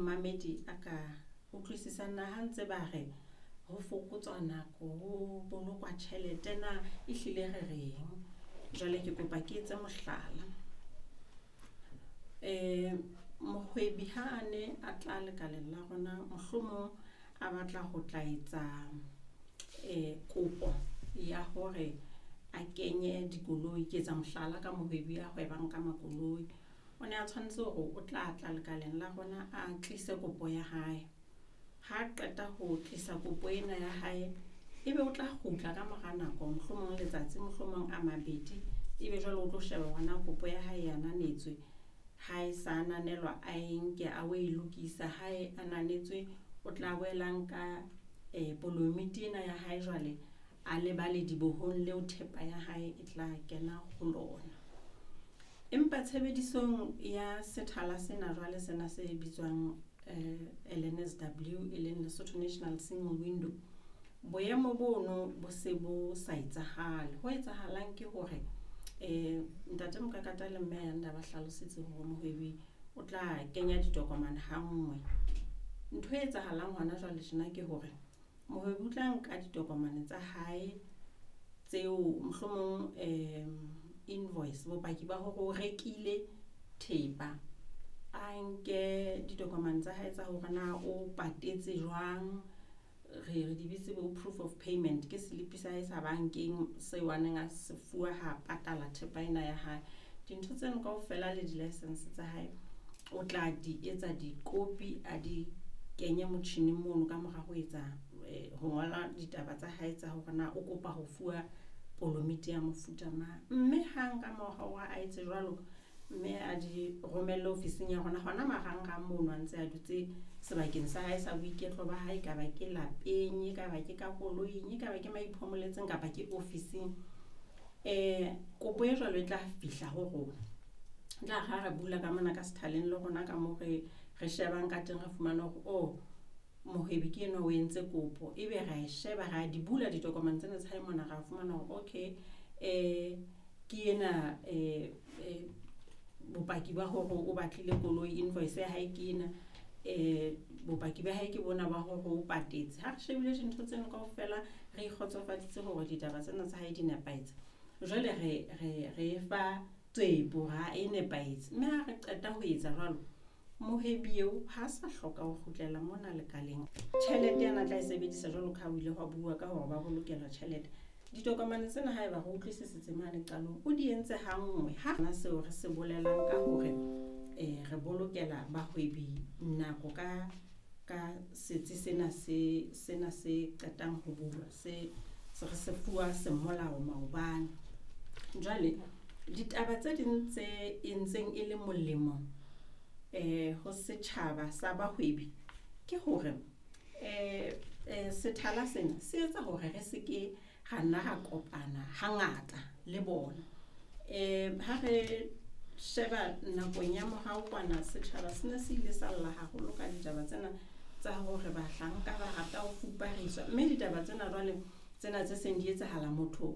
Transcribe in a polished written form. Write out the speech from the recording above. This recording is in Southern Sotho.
Mamedi a ka utlwisisang na ha ntse ba re ho fokotswa nako ho bolokwa tjhelete na ehlile re reng. Jwale ke kopa ke etse mohlala, mohwebi ha a ne a tla lekaleng la rona, mohlomong a batla ho tla etsa kopo ya hore a kenye dikoloi, ke etsa mohlala ka mohwebi a hwebang ka makoloi. O ne a tshwanetse hore o tla tla lekaleng la rona, a tlise kopo ya hae. Ha qeta ho tlisa kopo ena ya hae, ebe o tla kgutla ka mora nako mohlomong letsatsi mohlomong a mabedi. Ebe jwale o tlo sheba hore na kopo ya hae e ananetswe. Ha e sa ananelwa a e nke a o e lokisa ha e ananetswe, o tla boela nka polomiti ena ya hae jwale a leba ledibohong leo thepa ya hae e tla kena ho lona. Empa tshebedisong ya sethala sena jwale sena se bitswang LNSW e leng Lesotho National Single Window. Boemo bono bo se bo sa etsahale. Ho etsahalang ke hore ntate Mokakata le Mme Ayanda ba hlalositse hore mohwebi o tla kenya ditokomane ha nngwe. Ntho e etsahalang hona jwale tjena ke hore mohwebi o tla nka ditokomane tsa hae tseo mohlomong invoice bopaki ba hore o rekile thepa. A nke ditokomane tsa hae tsa hore na o patetse jwang. Re di bitse bo proof of payment ke slip sa hae sa bankeng seo a neng a se fuwa ha patala thepa ena ya hae. Dintho tseno kaofela le di-licence tsa hae, o tla di etsa dikopi a di kenye motjhining mono ka mora ho etsa ho ngola ditaba tsa hae tsa hore na o kopa ho fuwa polomiti ya mofuta mang. Mme hang ka mora hore a etse jwalo, mme a di romelle ofising ya rona hona marangrang mono a ntse a dutse sebakeng sa hae sa boiketlo ba hae. Ekaba ke lapeng, ekaba ke ka koloing, ekaba ke mo iphomoletseng kapa ke ofising. Kopo e jwalo e tla fihla ho rona. E tla re ha re bula ka mona ka sethaleng le rona ka moo re re shebang ka teng, re fumane hore oh mohwebi ke enwa o entse kopo. Ebe ra e sheba, ra di bula ditokomane tsena tsa hae mona, ra fumana hore okay ke ena bopaki ba hore o batlile koloi, invoice ya hae ke ena. Bopaki ba hae ke bona ba hore o patetse. Ha re shebile dintho tseno kaofela, re ikgotsofaditse hore ditaba tsena tsa hae di nepahetse. Jwale re fa tswepo ha e nepahetse. Mme ha re qeta ho etsa jwalo, mohwebi eo ha sa hloka ho kgutlela mona lekaleng. Tjhelete ena tla e sebedisa jwalo ka ha o ile hwa bua ka hore ba bolokelwa tjhelete. Ditokomane tsena haeba re utlwisisitse mane qalong, o di entse ha nngwe. Ha na seo re se bolelang ka hore re bolokela bahwebi nako ka setsi sena se sena se qetang ho bulwa se re se fuwa semolao maobane. Jwale ditaba tse ding tse entseng e le molemo ho setjhaba sa bahwebi ke hore sethala sena se etsa hore re seke ra nna ra kopana hangata le bona. Ha re sheba nakong ya morao kwana, setjhaba sena se ile sa lla haholo ka ditaba tsena tsa hore bahlanka ba rata ho fupariswa, mme ditaba tsena jwale tsena tse seng di etsahala motho